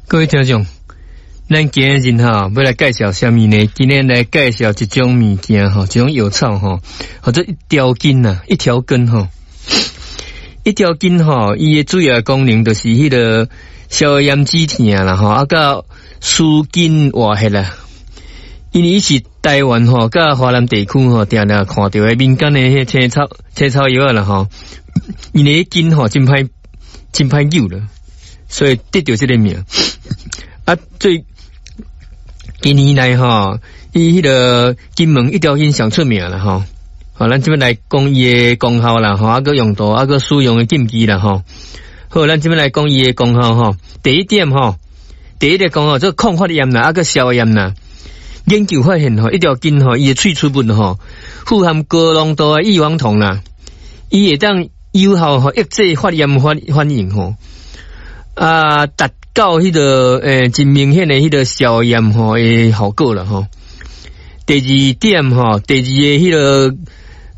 各位聽眾，咱今日吼欲來介紹啥物呢？今天來介紹一種物件吼，一種藥草吼，號做一條根啊，一條根吼，一條根吼，伊的主要功能就是彼個消炎止疼啦吼，啊，佮舒筋活血啦。因為伊是台灣吼，佮華南地區吼，定定看著的民間的彼個青草青草藥仔啦吼，因為根吼真歹真歹揪啦，所以得著這個名。啊，最近年來吼，伊彼個金門一條根上出名啦吼。好，咱這擺來講伊的功效啦吼，啊，閣用途，啊，閣使用的禁忌啦吼。好，咱這擺來講伊的功效吼。第一點吼，第一個功效做抗發炎啦，啊，閣消炎啦。研究發現吼，一條根吼，伊的萃取物吼，富含高濃度的異黃酮啦，伊會當有效吼抑制發炎反反應吼，啊，達到彼個真明顯的彼個消炎吼的效果啦吼。第二點吼，第二个彼個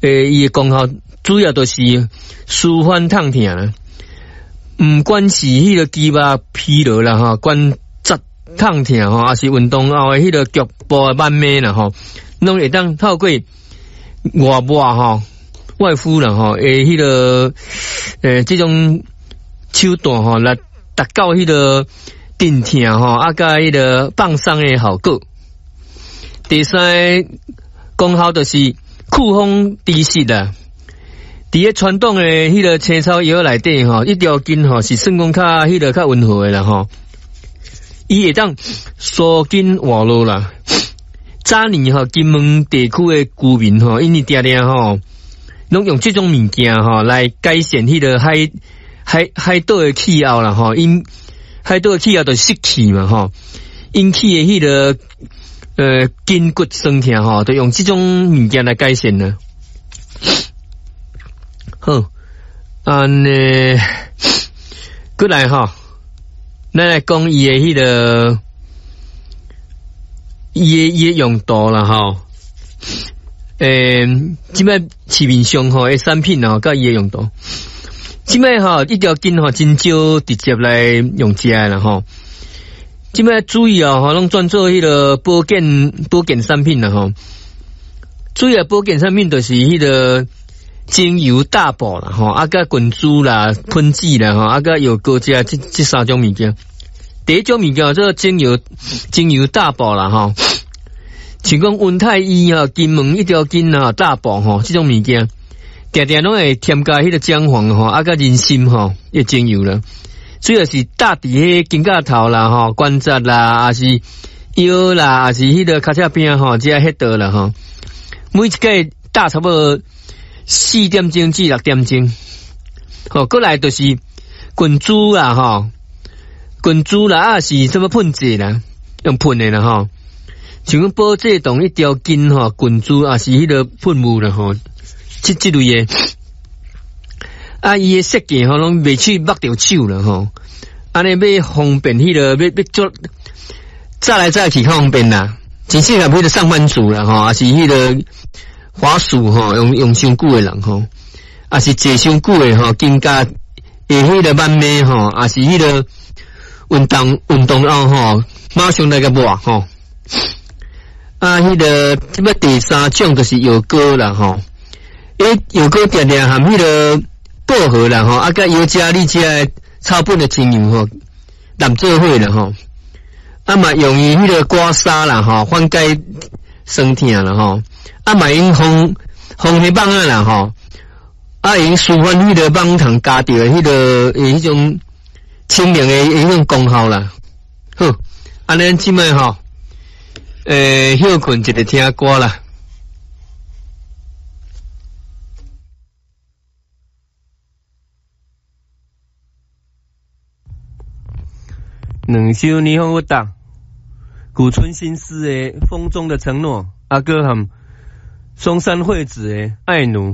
伊的功效主要就是舒緩痛疼啦，毋管是彼個肌肉疲勞啦吼，關節痛疼吼，抑是運動後的彼個局部的慢慢啦吼，攏會當透過外抹吼、外敷啦吼，的彼個這種手段吼來達到彼個鎮痛吼，啊，佮彼個放鬆的效果。第三個功效就是祛風除濕啦。佇咧傳統的彼個青草藥內底吼，一條根吼是算講較彼個較溫和的啦吼。伊會當舒筋活絡啦。早年吼，金門地區的居民吼，𪜶定定吼，攏用這種物件吼來改善彼個海海海島的氣候啦吼，𪜶海島的氣候就是濕氣嘛吼，引起的彼個筋骨痠疼吼，就用這種物件來改善啦。好，按呢，閣來吼，咱來講伊的彼個，伊的用途啦吼。這擺市面上吼的產品吼，佮伊的用途。這擺吼一條根吼真少直接來用食的啦吼。這擺主要吼攏轉做彼個保健保健產品啦吼。主要保健產品就是彼個精油大補啦吼，啊，佮滾珠啦、噴劑啦吼，啊，佮藥膏這這這三種物件。第一種物件做精油精油大補啦吼，像講溫太醫吼、金門一條根啊大補吼，這種物件，定定攏會添加彼個薑黃吼，啊，佮人參吼，彼精油啦。主要是搭佇彼肩胛頭啦吼、關節啦，抑是腰啦，抑是彼個跤脊餅吼，這穴道啦吼。每一擺搭差不多4點鐘至6點鐘。好，閣來就是滾珠啦吼，滾珠啦，啊是啥物噴劑啦，用噴的啦吼。像講保濟堂一條根吼，滾珠抑是彼個噴霧啦吼，這這類的。啊，伊的設計吼，攏袂去縛著手啦吼。按呢欲方便彼個，欲欲做紮來紮去較方便啦。真適合彼個上班族啦吼，抑是彼個滑鼠吼，用用傷久的人吼，抑是坐傷久的吼，肩胛會彼個慢慢吼，抑是彼個運動運動後吼，馬上來共抹吼。啊，彼個這擺第三種就是藥膏啦吼，欸，藥膏定定含彼個薄荷啦吼，啊，佮尤加利這个草本的精油吼，挹做伙啦吼，啊嘛用於彼個刮痧啦吼，緩解酸疼啦吼，啊嘛用防防彼蠓仔啦吼，啊用舒緩彼個蠓蟲咬著的彼個彼種清涼的彼種功效啦。好，按呢這擺吼，歇睏一下聽歌啦。兩首霓虹舞蹈，古村新司的《風中的承諾》，啊閣含松山惠子的《愛奴》。